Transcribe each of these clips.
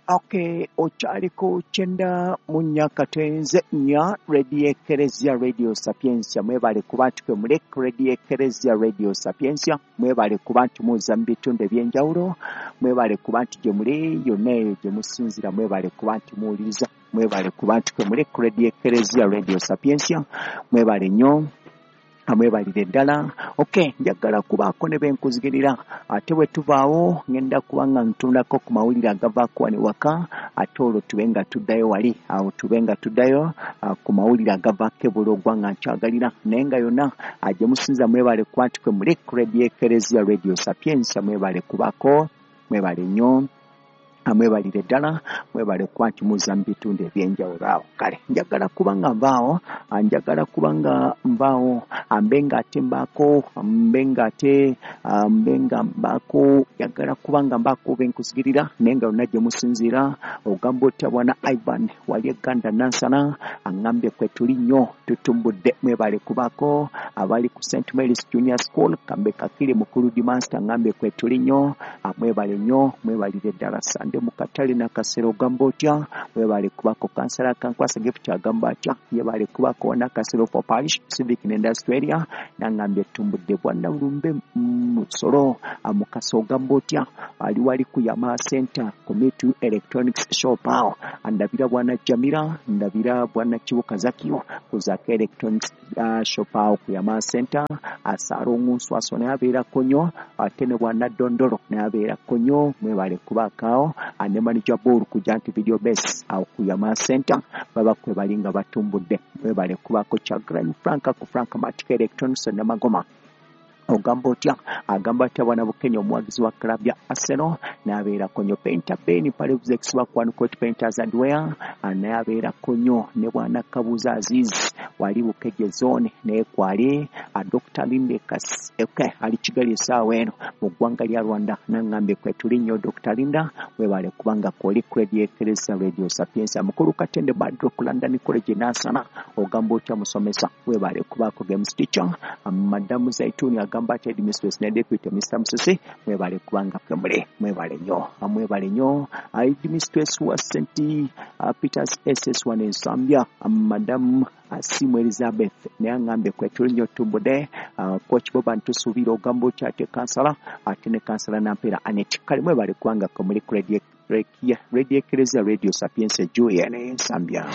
Okay, okyaliko 94.4 Radio Ekereziya Radio Sapientia. Mwebale kuba nti kwe muli Radio Ekereziya Radio Sapientia. Mwebale kuba nti muza mu bitundu ebyenjawulo. Mwebale kuba nti gye muli yonna eyo gye musinzira. Mwebale kuba nti muwuliriza. Mwebale kuba nti kwe muli Radio Ekereziya Radio Sapientia. Mwebale nnyo, amwebalire ddala. Okay, njagala kubaako ne benkuzigirira, ate bwe tuvaawo ngenda kuba nga ntundako ku mawulire agavaako wano ewaka, ate olwo tube nga tuddayo wali awo, tube nga tuddayo ku mawulire agavaako ebulogwa nga nkyagalira. Naye nga yonna gye musinza mwebale kuba nti kwe muli Radio Ekereziya Radio Sapientia. Mwebale kubaako, mwebale nnyo, amwebalire ddala, mwebale kuba nti muza mu bitundu ebyenjawulo awo. Kale njagala kuba nga nvaawo, njagala kuba nga nvaawo, mbe nga ate mbaako, mbe nga ate mbe nga mbaako, njagala kuba nga mbaako benkuzigirira. Naye nga yonna gye musinziira, ogamba otya bwana Ivan wali Eganda Nansana, aŋŋambye kwe tuli nnyo, tutumbudde. Mwebale kubaako abali ku St Mary's Junior School kambe Kakiri mukulu dimaster, aŋŋambye kwe tuli nnyo, mwebale nnyo, mwebalire ddala. Sande mukatale Nakasero ogamba otya, mwebale kubako. Kansala Kankwasa Gift agamba atya, yebale kubako. Nakasero for Parish Civic and Industrial Area nangambye tumbudde. Bwana Lumbe Musolo Mukasa ogamba otya, ali wali ku Yamaha Center Committee Electronics Shop awo. Ndabira bwana Jamira, ndabira bwana Kibuka Zakio ku Zaka Electronics Shop awo ku Yamaha Center. Asaro Nswaso naye abeerako nnyo, ate ne bwana Dondolo naye abeerako nnyo. Mwebale kubaakaawo ne manager Ball ku Janti Video Base awo ku Yamaha Center, baba kwe bali nga batumbudde. Mwebale kubaako. Chagran Frank ku Frank Matic Electronics Namagoma ogamba otya, agamba atya bwana Bukenya omuwagizi wa club ya Arsenal n'abeerako nnyo. Painter Ben Palevzex wa Kwanukot Painters and Wear naye abeerako nnyo, ne bwana Kabuza Aziz wali Bukeje Zone naye kwali. Dr Linda okay, ali Kigali essaawa eno mu ggwanga lya Rwanda, naŋŋambye kwe tuli nnyo. Dr Linda webale kubanga kwoli ku Radio Ekereziya Radio Sapientia. Mukulu Katende Badro ku London College Nansana ogamba otya musomesa, webale kubaako games teacher. Madamu Zaituni agamba ati headmistress ne deputy Mr Musisi, mwebale kubanga kwe muli, mwebale nnyo, mwebale nnyo. Headmistress wa St Peters SS1 Ensambya, Madamu Asimu Elizabeth naye aŋŋambye kwe tuli nnyo, tumbudde. Coach Boba ntusuubira ogamba otya, ate kansala, ate ne kansala Nampeera Anet. Kale mwebale kubanga kwe muli ku Radio Ekereziya Radio Sapientia Julia ne Ensambya.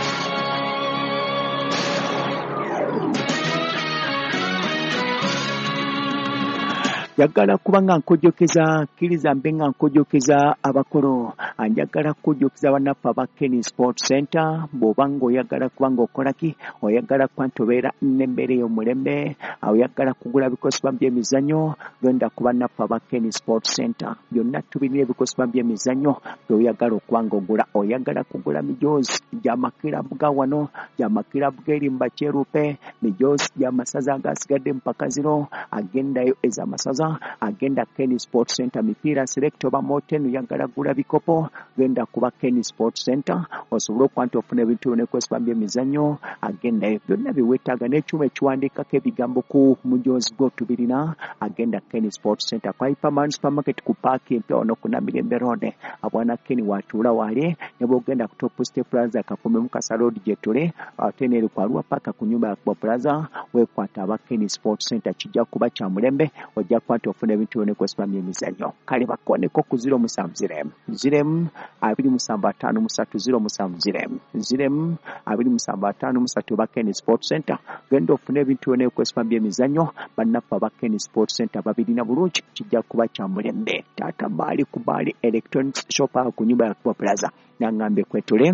Njagala kuba nga nkujjukiza, kkiriza mbe nga nkujjukiza abakulu. Njagala kujjukiza bannaffe aba Kenny Sport Center. Bw'oba ng'oyagala kuba ng'okola ki, oyagala kuba nti obeera n'embeera ey'omulembe, oyagala kugula bikozesebwa by'emizannyo, genda ku bannaffe aba Kenny Sport Center. Byonna tubirina ebikozesebwa by'emizannyo by'oyagala okuba ng'ogula. Oyagala kugula mijoozi gy'amakirabu ga wano, gy'amakirabu g'eri mu Bakyeruppe, mijoozi gy'amasaza agasigadde mu mpaka zino, agendayo ez'amasaza, agenda Kenny Sport Center. Mipiira select oba moten, oyagala gula bikopo, genda kuba Kenny Sport Center osobole okuba nti ofuna ebintu byonna ebikozesebwa by'emizannyo. Agendayo byonna bye weetaaga, n'ekyuma ekiwandiikako ebigambo ku mujoozi gwo tubirina. Agenda Kenny Sport Center kwa Hyperman Supermarket ku paaki empya wano ku Namirembe Road. Abwana Kenny watuula wali, ne bw'ogenda ku Top Step Plaza Kafume Mukasa Road gye tuli, ate n'eri ku Arua Park ku nyumba ya Kuba Plaza. Weekwata aba Kenny Sport Center, kijja kuba kya mulembe, ojja kuba nti ofuna ebintu byonna ebikozesebwa by'emizannyo. Kale bakoneko ku 070 0 27 53 070 0 27 53 ba Kenny Sport Center. Genda ofune ebintu byonna ebikozesebwa by'emizannyo, bannaffe aba Kenny Sport Center babirina bulungi, kijja kuba kya mulembe. Taata Baali ku Baali Electronics Shop awo ku nyumba ya Kuba Plaza naŋŋambye kwetule,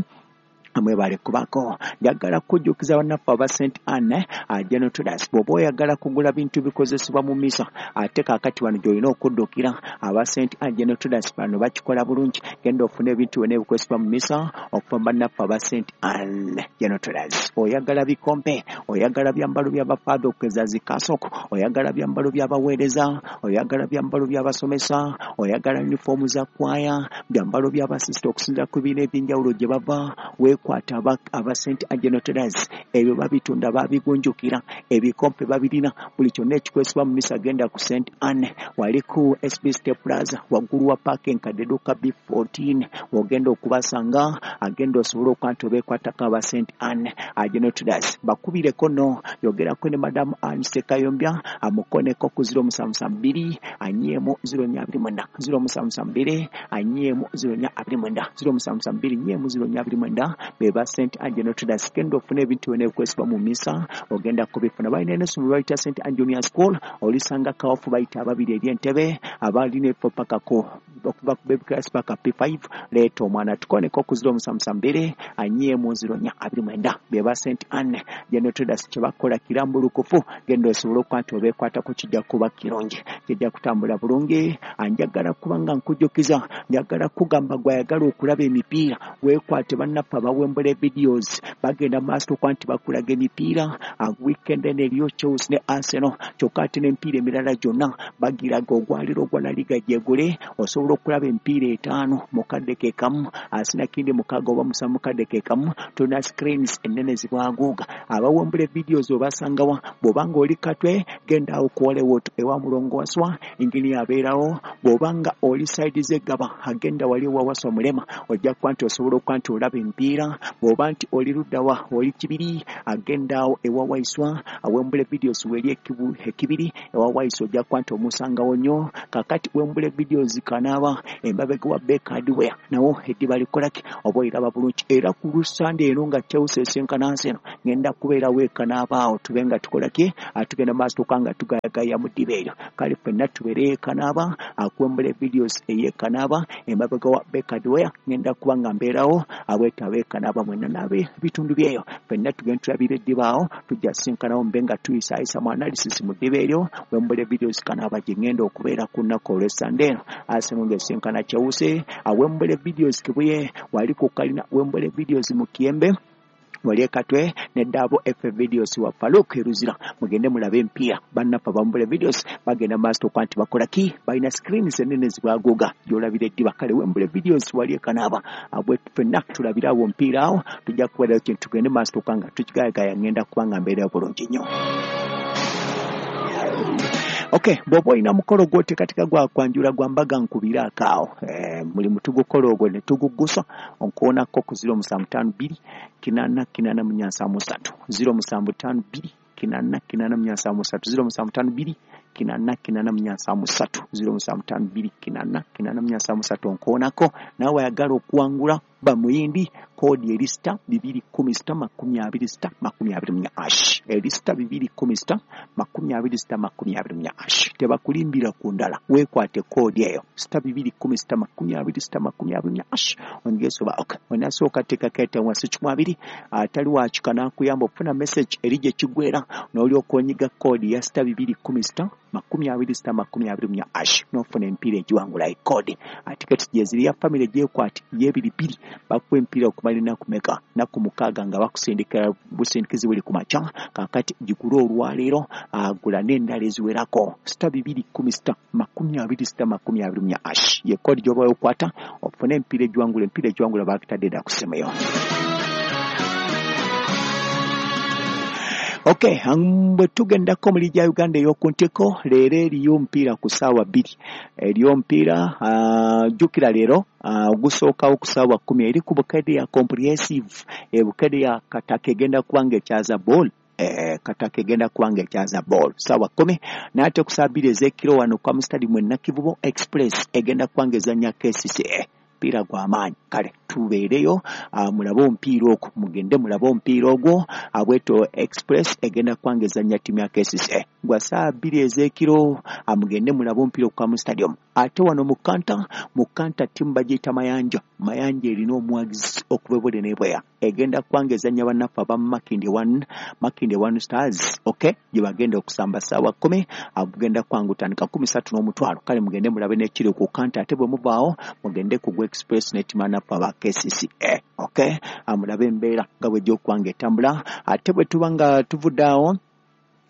mwebale kubako. Njagala kujjukiza bannaffe aba St Anne General Traders, bw'oba oyagala kugula bintu bikozesebwa mu misa, ate kaakati wano gy'olina okuddukira. Aba St Anne General Traders bano bakikola bulungi. Genda ofune ebintu byonna ebikozesebwa mu misa okuva mu bannaffe aba St Anne General Traders. Oyagala bikompe, oyagala byambalo by'abafaatha okugeza zikasoko, oyagala byambalo by'abaweereza, oyagala byambalo by'abasomesa, oyagala yunifoomu za kwaya, byambalo by'abasisita okusinziira ku bibiina ebyenjawulo gye bava, Weekwata aba St Angelo Traders, ebyo babitunda, babigunjukira, ebikompe babirina, buli kyonna ekikozesebwa mu misa. Genda ku St Anne, wali ku SB Step Plaza, waggulu wa paaka enkadde, edduuka B14 wogenda okubasanga. Agenda osobole okuba nti obeekwatako aba St Anne General Traders. Bakubireko no yogerako ne Madamu Anne Sekayombya, amukoneko ku 0772 4 0429, 0772 4 0429, 0772 4 0429. Beba St Anne General Traders. Genda ofune ebintu byonna ebikozesebwa mu misa, ogenda kubifuna. Balina n'essomero bayita St Anne Junior School, olisanga Kawafu, bayita ababiri eri Entebe, abalina ebifo pakako okuva ku baby class paka P5. Leeta omwana, tukoneko ku 0772 4 0429. Beba St Anne General Traders, kyebakola kirambulukufu. Genda osobole okuba nti obeekwatako, kijja kuba kirungi, kijja kutambula bulungi. Njagala kuba nga nkujjukiza, njagala kugamba gwayagala okulaba emipiira, weekwate bannaffe abawembula videos, bagenda maaso okuba nti bakulaga emipiira. Weekend eno eriyo Chelsea ne Arsenal, kyokka ate n'emipiira emirala gyonna bagiraga. Ogwaliro ogwa La Liga gyegule, osobola okulaba emipiira 5 mu kadde ke kamu, asinakindi 6 oba 7 mu kadde ke kamu. Tulina screens ennene zibwaguuga. Abawembula videos obasangawa? Bw'obanga oli Katwe, genda awo ku Hollywood ewa Mulongo Waswa, ingini abeerawo. Bw'obanga oli side z'Eggaba, agenda wali ewa Waswa Mulema, ojja kuba nti osobola okuba nti olaba emipiira. Bw'oba nti oli luddawa, oli Kibiri, agenda awo ewa Waiswa, awembule videos weri Ekibiri ewa Waiswa, ojja kuba nti omusangawo nnyo. Kakati Wembule Videos Kanaaba, emabega wa Baker Hardware, nawo eddiba likolaki oba oyiraba bulungi. Era ku Lusande eno nga Chelsea esinkana Arsenal, ngenda kubeerawo Ekanaaba awo, tube nga tukolaki, tugenda maaso tuka nga tugayagaya mu ddiba eryo. Kale ffenna tubeere Ekanaaba, akuwembule videos ey'Ekanaaba emabega wa Baker Hardware, ngenda kuba nga mbeerawo. Abweta ab'Ekanaaba mwenna n'abebitundu byeyo, ffenna tugenda tulabira eddiba awo, tujja sinkanawo mbe nga tuyisaayisa mu analysis mu ddiba eryo. Wembule Videos Kanaaba gye ngenda okubeera ku nnaku olw'Essande eno, Arsenal ng'esinkana Chelsea. Awembule Videos Kibuye, wali ku kalina Wembule Videos mu Kiyembe, wali Ekatwe, neddaabo F Videos wa Faluk Eruzira. Mugende mulabe empiira. Bannaffe abambule videos bagenda maaso okuba nti bakola ki, balina screens ennene zibwaguuga gy'olabira eddiba. Kale Wembule Videos wali Ekanaaba, abwe ffenna tulabire awo omupiira awo, tujja kubeerayo kintu, tugende maaso okuba nga tukigayagaya. Ngenda kuba nga mbeerayo bulungi nnyo. Okay, bw'oba olina mukolo gw'oteekateeka gwa kwanjula, gwa mbaga, nkubiraako awo, mulimu tugukola ogwo ne tuguggusa. Onkoonako ku 0752 8 8 473, 0752 8 8 473, 0752 8 8 473, 0752 8 8 473. Onkoonako naawe ayagala okuwangula bamuyindi. Koodi eri *210 *20 *24 hash, eri *210 *20 *24 hash. Tebakulimbira ku ndala, weekwate koodi eyo *210 *20 *24 hash, ongesoba. Okay, onasooka teekako ete wansi 20, atali wakika n'akuyamba okufuna message eri gye kiggwera, n'olyoka onyiga koodi ya *210 *20 *24 hash, n'ofuna emipiira egiwangula. Ekoodi tiketi gyeziri ya famire, gyekwate y'ebiribiri, bakuwa emipiira okumala ennaku meka? Nnaku 6, nga bakusindika busindikizi buli ku makya. Kaakati gigule olwaleero, agula n'endala eziwerako. *210 *20 *24 hash ye koodi gy'oba okwata ofune emipiira egiwangula. Emipiira egiwangula bakitadde dda ku ssimu yo. Okay, bwe tugendako mu liigi ya Uganda ey'oku ntiko, leero eriyo omupiira ku ssaawa 2, eriyo omupiira. Jjukira leero ogusookawo ku ssaawa 10 eri ku Bukedea Comprehensive. Bukedea Kataka egenda kuba nga ekyaza ball, Kataka egenda kuba nga ekyaza ball ssaawa 10. N'ate ku ssaawa 2 ez'ekiro wano kwa mu stadium e Nakivubo, Express egenda kuba nga ezannya KCCA, mupiira gw'amaanyi. Kale tubeereyo, mulabe omupiira ogwo, mugende mulabe omupiira ogwo. Abweto Express egenda kuba nga ezannya ttiimu ya KCCA gwa ssaawa 2 ez'ekiro, mugende mulabe omupiira okuka mu stadium. Ate wano mu Kanta, mu Kanta ttiimu bagiyita Mayanja. Mayanja erina omuwagizi okuva ebule n'ebweya, egenda kuba nga ezannya bannaffe aba Makindye One, Makindye One Stars. Okay, gye bagenda okusamba ssaawa 10, gugenda kuba nga gutandika 3,000. Kale mugende mulabe n'ekiri ku Kanta. Ate bwe muvaawo mugende ku gwa Express ne ttiimu bannaffe aba KCCA. Okay, mulabe embeera nga bwejja okuba nga etambula. Ate bwe tuba nga tuvudde awo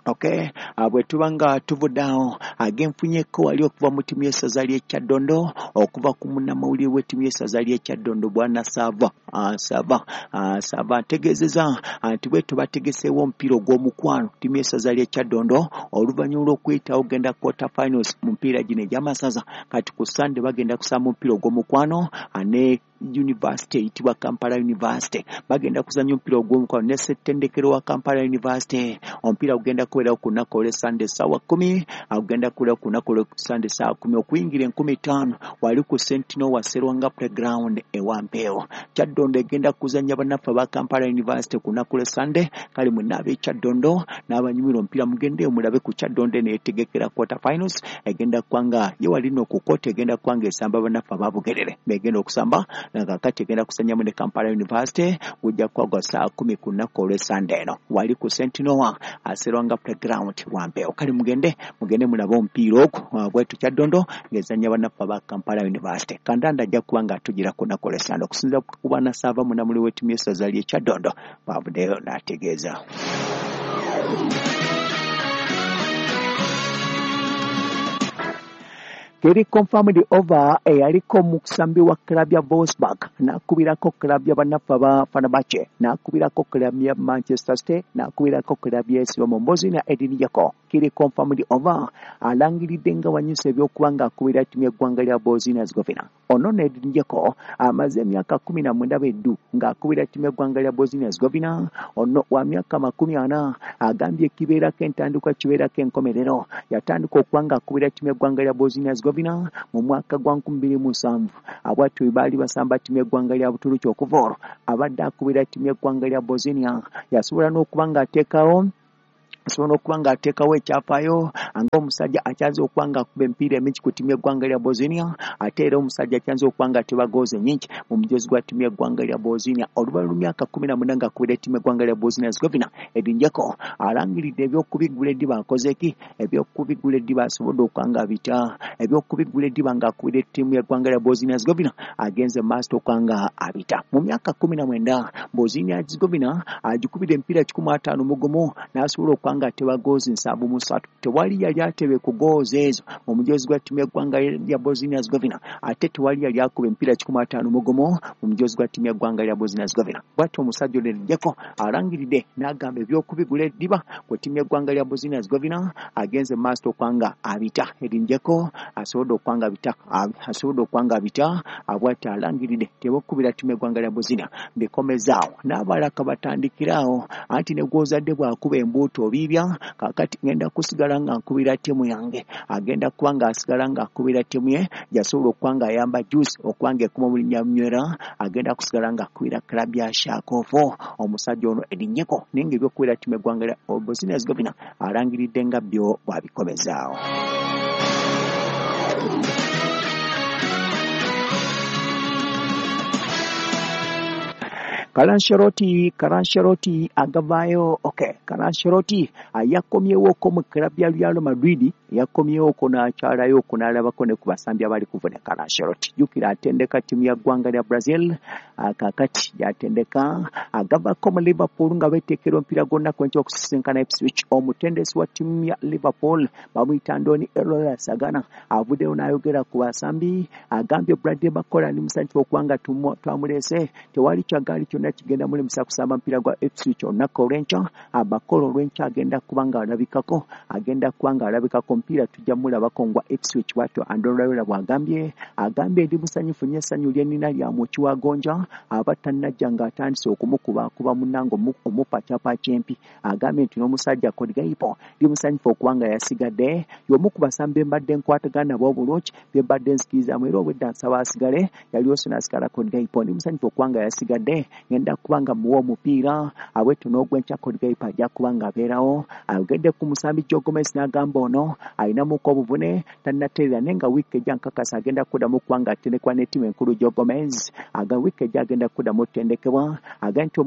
Okay, bwe tuba nga tuvudde awo agenfunyeko wali okuva mu ttiimu y'essaza ly'e Kyaddondo, okuva ku munnamawulire w'ettiimu y'essaza ly'e Kyaddondo Bwana Saava Saava ntegeezeza nti bwe tubategeseewo omupiira ogw'omukwano ttiimu y'essaza ly'e Kyaddondo oluvannyuma lw'okuyitawo genda quarter finals mu mipiira gino egy'amasaza, kati ku Sande bagenda kusamba omupiira ogw'omukwano ne University eyitibwa Kampala University. Bagenda kuzannya omupiira ogw'omukwano ne ssettendekero wa Kampala University. Omupiira gugenda kubeerawo ku lunaku olw'e Sande ssaawa 10, gugenda kubeerawo ku lunaku olw'e Sande ssaawa 10 okuyingira 5000 wali ku Sentinel wa Serwanga Playground e Wampeewo. Kyaddondo egenda kuzannya bannaffe aba Kampala University ku lunaku lw'e Sande. Kale mwenna ab'e Kyaddondo n'abanyumirwa omupiira mugendeyo mulabe ku Kyaddondo eno yeetegekera quarter finals, egenda kuba nga ye wali nno ku kooti egenda kuba nga esamba bannaffe aba Bugerere begenda okusamba kakati egenda kuzannyamu ne Kampala University, gujja kuba gwa ssaawa 10 ku lunaku olw'e Sande eno wali ku Sentinel Serwanga Playground Wampeewo. Kale mugende mulabe omupiira ogwo bwetu Kyaddondo ng'ezannya bannaffe aba Kampala University. Kandanda ajja kuba nga atugira ku lunaku olw'e Sande okusinziira ku Bwana Saava munnamawulire w'ettiimu y'essaza ly'e Kyaddondo bw'avuddeyo n'ategeeza. Keri confirmed over eyaliko omusambi wa club ya Wolfsburg n'akubirako club ya bannaffe aba Fenerbahce, n'akubirako club ya Manchester City, n'akubirako club ya AS Roma na Edin Dzeko. Keri confirmed over alangiridde nga wanyusa ebyokuba ng'akubira ttiimu y'eggwanga lya Bosnia Herzegovina. Ono ne Edin Dzeko amaze emyaka 19 beddu ng'akubira ttiimu y'eggwanga lya Bosnia Herzegovina. Ono wa myaka 40 agambye kibeerako entandikwa kibeerako enkomerero. Yatandika okuba ng'akubira ttiimu y'eggwanga lya Bosnia Herzegovina mu mwaka gwa 2007 abwatyo baali basamba ttiimu y'eggwanga lya Buturuki okuva olwo abadde akubira ttiimu y'eggwanga lya Bosnia. Yasobola n'okuba ng'ateekawo ekyafaayo ng'omusajja akyanze okuba ng'akuba emipiira emingi ku ttiimu y'eggwanga lya Bosnia, ate era omusajja akyanze okuba ng'ateba goozi nnyingi mu mujoozi gwa ttiimu y'eggwanga lya Bosnia. Oluvannyuma lw'emyaka 18 ng'akubira ttiimu y'eggwanga lya Bosnia Herzegovina, Edin Dzeko alangiridde eby'okubigula eddiba akoze ki? Eby'okubigula eddiba asobodde okuba ng'abita. Eby'okubigula eddiba ng'akubira ttiimu y'eggwanga lya Bosnia Herzegovina agenze maaso okuba nga abita. Mu myaka 19 Bosnia Herzegovina agikubira emipiira 151 n'asobola okuba nga ateba goozi 73. Tewali yali atebe ku goozi ezo mu mujoozi gwa ttiimu y'eggwanga lya Bosnia Herzegovina, ate tewali yali akuba emipiira 151 mu mujoozi gwa ttiimu y'eggwanga lya Bosnia Herzegovina. Bw'atyo omusajja ono Edin Dzeko alangiridde n'agamba eby'okubigula eddiba ku ttiimu y'eggwanga lya Bosnia Herzegovina agenze maaso okuba nga abita. Edin Dzeko asobodde okuba nga abita, bw'atyo alangiridde tebakubira ttiimu y'eggwanga lya Bosnia bikomezaawo n'abalala batandikiraawo anti ne gw'ozadde bw'akuba embuutu obiibya. Kakati ngenda kusigala nga nkubira ttiimu yange, agenda kuba ng'asigala ng'akubira ttiimu ye gy'asobola okuba ng'ayamba Juice okuba ng'ekuma mu linnya Nywera, agenda kusigala ng'akubira club ya Shakovo. Omusajja ono Edin Dzeko naye ng'ebyokubira ttiimu y'eggwanga lya Bosnia Herzegovina alangiridde nga byo bw'abikomezaawo. Kalancheroti agavaayo. Okay, Kalancheroti yakomyewoko mu club ya Real Madrid, yakomyewoko n'akyalayo n'alabako ne ku basambi abali kuvuna. Kalancheroti jjukira atendeka ttiimu ya ggwanga lya Brazil, kakati gy'atendeka agavako mu Liverpool nga beeteekera omupiira gwonna kwenkya okusisinkana Ipswich. Omutendesi wa ttiimu ya Liverpool bamuyita Andoni Iraola Sagana avuddeyo n'ayogera ku basambi, agambye Bradley Barcola ndi musanyufu okuba nga twamuleese, tewali kyagaali kyonna kigenda mulemesa kusamba mupiira gwa Ipswich olunaku olw'enkya. Barcola olw'enkya agenda kuba ng'alabikako, omupiira tujja mulabako ngwa Ipswich. Bw'atyo Andoni Iraola bw'agambye, agambye ndi musanyufu nnyo, essanyu lye nnina lya mwoki wa gonja aba tannajja ng'atandise okumukubaakuba munnange omupacapaaca empi. Agambye nti n'omusajja Cody Gakpo ndi musanyufu okuba nga yasigadde, y'omu ku basambi be mbadde nkwatagana nabo obulungi, be mbadde nzikirizaamu era obwedda nsaba asigale, yali n'asigala Cody Gakpo. Ndi musanyufu okuba nga yasigadde, ngenda kuba nga muwa omupiira abwetyo n'ogwenkya Cody Gakpo ajja kuba ng'abeerawo. Ayogedde ku musambi Joe Gomez n'agamba ono Alinamuko obuvune tannateerera, naye nga wiiki ejja nkakasa agenda kuddamu okuba nga atendekebwa n'ettiimu enkulu Joe Gomez. Aga wiiki ejja agenda kuddamu otendekebwa. Agambye nti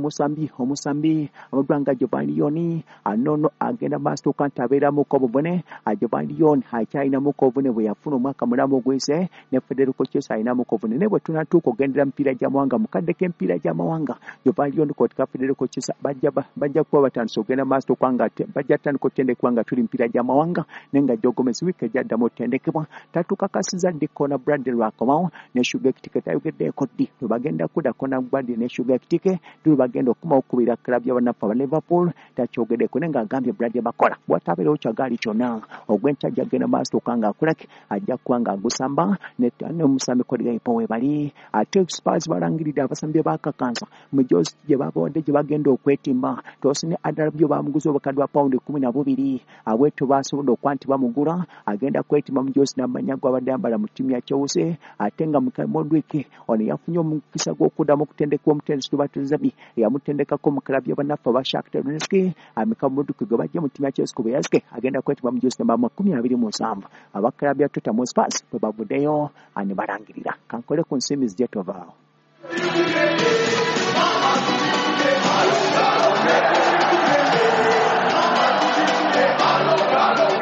omusambi amuddwa nga Giovanni Leoni anono agenda maaso okuba nti abeeramuko obuvune. Giovanni Leoni akyalinamuko obuvune bwe yafuna omwaka mulamu oguyise, ne Federico Chiesa alinamuko obuvune, naye bwe tunatuuka okugendera mupiira gy'amawanga mu kadde k'emipiira gy'amawanga, Giovanni Leoni kotika Federico Chiesa bajja kuba batandise okugenda maaso okuba nga bajja kutandika okutendekebwa nga tuli mupiira gy'amawanga, naye nga Joe Gomez wiiki ejja addamu otendekebwa. Tatukakasiza ddi Conor Bradley lwakomawo ne Sugar Ekitike, tayogeddeeko ddi lwe bagenda kudda Conor Bradley ne Sugar Ekitike, ddi lwe bagenda okukomawo okukubira club y'abannaffe aba Liverpool, takyogeddeko, naye ng'agambye Bradley bakola watabeerewo kyagaali kyonna ogw'enkya ajja kugenda maaso okuba ng'akolaki, ajja kuba ng'agusamba n'omusambi Cody Gakpo we bali. Ate Spurs balangiridde abasambi bakakansa mu josi gye babawadde gye bagenda okwetimba. Tosin Adarabioyo bamuguze obukadde bwa pawundi 12, abwetyo basobodde okuba nti bamugula, agenda kwetimba mu josi n'amanya gw'abadde ayambala mu ttiimu ya Chelsea. Ate nga Mudryk ono yafunye omukisa gw'okuddamu okutendekebwa omutendesi Roberto Zerbi eyamutendekako mu club y'abannaffe aba Shakhtar Donetsk. Mykhailo Mudryk gwe bajja mu ttiimu ya Chelsea ku bweyazike agenda kwetimba mu josi namba 27. Aba club ya Tottenham Hotspur bwe bavuddeyo ne balangirira. Kankole ku nsimbi zijje tovaawo.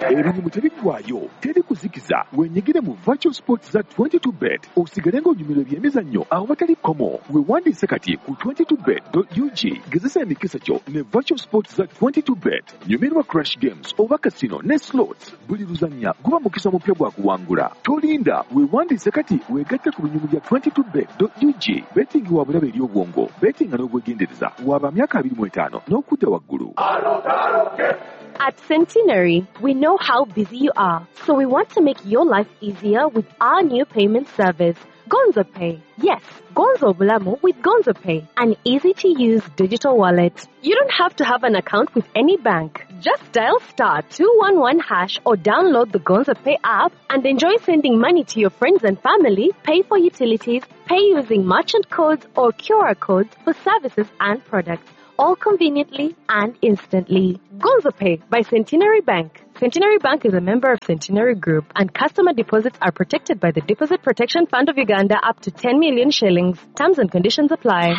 Ebinyumu tebiggwayo, teri kuzikiza. Wenyigire mu virtual sports za 22 bet, osigale ng'onyumirwa ebyemizannyo awatali kkomo. Weewandiise kati ku 22bet.ug. Gezesa emikisa gyo ne virtual sports za 22 bet. Nyumirwa crash games oba casino ne slots. Buli luzannya guba mukisa mupya gwa kuwangula. Tolinda, weewandiise kati weegatte ku binyumu bya 22bet.ug. Betting wa bulabe eri obwongo. Bettinga n'obwegendereza. Waba myaka 25 n'okudda waggulu. At Centenary, we know how busy you are, so we want to make your life easier with our new payment service, Gonzo Pay. Yes, Gonzo Bulamu with Gonzo Pay, an easy-to-use digital wallet. You don't have to have an account with any bank. Just dial *211# or download the Gonzo Pay app and enjoy sending money to your friends and family, pay for utilities, pay using merchant codes or QR codes for services and products, all conveniently and instantly. Gonzo Pay by Centenary Bank. Centenary Bank is a member of Centenary Group, and customer deposits are protected by the Deposit Protection Fund of Uganda up to 10 million shillings. Terms and conditions apply.